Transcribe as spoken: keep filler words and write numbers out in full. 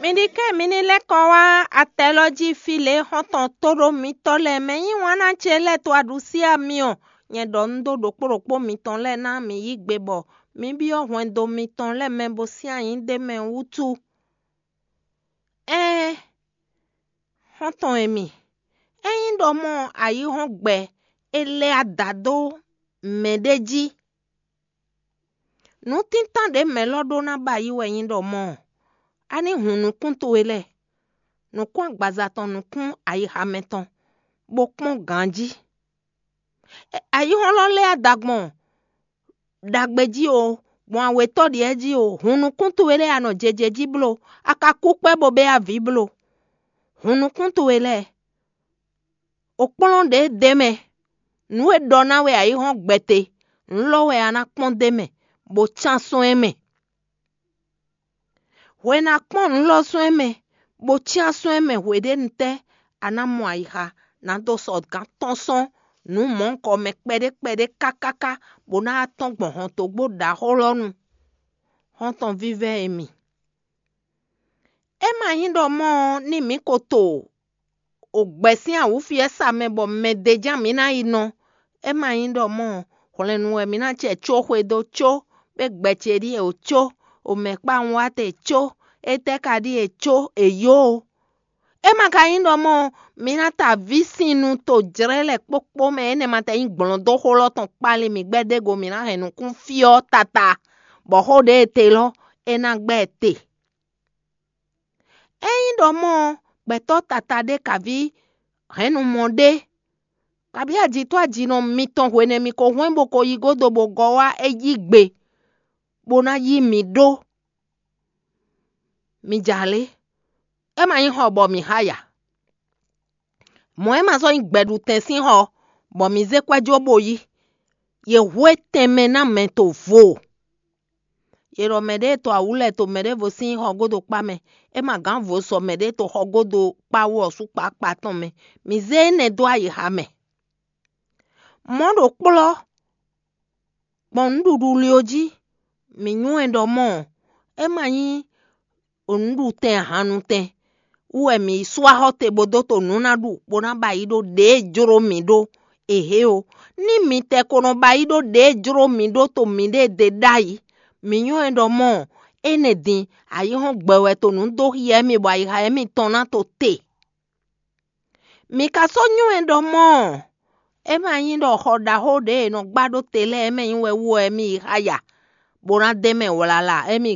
Mi ɖi kɛ mi ní lɛ́ kɔ wá atɛ lɔ jí fí lě xɔ́ntɔn tóɖó mitɔ́ lɛ́ɛ mɛ nyí wǎn ná ce lɛ́ɛ to aɖusí amyɔ. Nyɛ ɖɔ un ɖó ɖokpó ɖokpó mitɔn lɛ́ɛ ná mi yí gbe bɔ mi byɔ́ hwɛndo mitɔn lɛ́ɛ mɛ bo sín anyǐ ɖ'é mɛ wútu. Ɛɛn, xɔ́ntɔn e mi, ényí ɖɔ mɔ ayǐhɔ́ngbe é lɛ́ ada dó mɛɖé jí, nǔtíntan ɖě mɛ lɔ ɖó ná ba yi wɛ nyí ɖɔ mɔ̌? A ní hun nukún towe lɛ́ɛ, nukún agbaza tɔn nukún ayixa mɛ tɔn, bó kpɔ́n ganjí. Ayǐhɔ́n lɔ lɛ́ ada gbɔn ɖagbe jí o, gbɔn awětɔ́ ɖiɛ jí o, hun nukún towe lɛ́ɛ a nɔ jeje jí bló, a ka kú kpɛ́ bó bɛ́ avǐ bló. Hun nukún towe lɛ́ɛ, o kplɔ́n ɖě d'é mɛ. Nǔ e ɖɔ ná wɛ ayǐhɔ́n gbɛte, nǔ lɔ wɛ a ná kpɔ́n d'é mɛ, bó cán sɔ́n ɛ mɛ. Hwe ná kpɔ́n nǔ lɔ sɔ́ ɛ mɛ, bó cyán sɔ́ ɛ mɛ hweɖénu tɛ́ a ná mɔ ayixa, ná dó sɔ gǎn tɔn sɔ́n nǔ mɔ̌hunkɔ mɛ kpɛɖé kpɛɖé kákáká, bó ná wá tɔ́n gbɔn hɔntogbó ɖaxó lɔ nu. Xɔ́ntɔn vívɛ́ e mi, é ma nyí ɖɔ mɔ́ ɔ́, ní mǐ ko to o gbɛ̌ sín awǔfiɛ́sa mɛ bɔ mɛ d'é ján mǐ ná yi nɔ. É ma nyí ɖɔ mɔ́ hwlɛ̌nnu wɛ mǐ ná cɛ có xwedó có, bó gbɛ ce ɖíe wǒ có, omɛ̌kpawun wá te có, étɛ́ ka ɖíe có è yǒ ó. É ma ka nyí ɖɔ mɔ́ mǐ ná ta vǐ sín nu to jlɛ́ lɛ́ɛ kpókpó mɛ énɛ́ ma tɛ nyí gblɔ̌ndóxó lɔ tɔn kpali mǐ gbɛ́ ɖěgo mǐ ná hɛn nukún fí ɔ́ tata, bɔ xó ɖě e te lɔ é ná gbɛ́ te. Ényí ɖɔ mɔ́ ɔ́, gbɛtɔ́ tata ɖé kaví hɛ̌nnu mɔ ɖé, kaví ajitɔ́ ajinɔ mitɔn hwenɛ́ mi ko hwɛ́n bó ko yí gúdo bó gɔ́ wá é yí gbe, bó ná yí mǐ ɖó. Mi ja lě, é ma nyí xɔ bɔ mǐ xa ya. Mɔ̌ é ma sɔ́ nyí gbɛɖutɛn sín xɔ, bɔ mǐ zé kwɛ́ jó bó yí. Yě hú étɛn mɛ ná mɛ to vo. Yě ɖɔ mɛɖée to awǔ lɛ́ɛ to mɛɖěvo sín xɔgódokpá mɛ, é ma gǎn vo sɔ mɛɖée to xɔgódokpá wú ɔ́ sú kpákpá tɔn mɛ. Mǐ zé énɛ́ dó ayixa mɛ. Mɔ̌ ɖo kplɔ́ gbɔn nǔɖuɖu lyo jí, mǐ nywɛ́ ɖɔ mɔ́ ɔ́, é ma nyí nǔɖutɛn ahannutɛn wú wɛ mǐ yi sú axɔ́ te bó dó to nǔ ná ɖu bó ná ba yi ɖó ɖěe jló mǐ ɖó. Ehe o, ní mi tɛ ko nɔ ba yi ɖó ɖěe jló mǐ ɖó to mǐɖée ɖe ɖ'ayǐ, mǐ nywɛ́ ɖɔ mɔ́ ɔ́, énɛ́ din ayǐhɔ́ngbe wɛ to nǔ dó hyɛ mì bɔ ayixa émítɔn ná to te. Mǐ ka sɔ́ nywɛ́ ɖɔ mɔ́ ɔ́, é ma nyí ɖɔ xɔ ɖaxó ɖě è nɔ gbá ɖó te lɛ́ɛ mɛ nyí wɛ wú wɛ émí yi xá ya, bó ná d'é mɛ wlala émí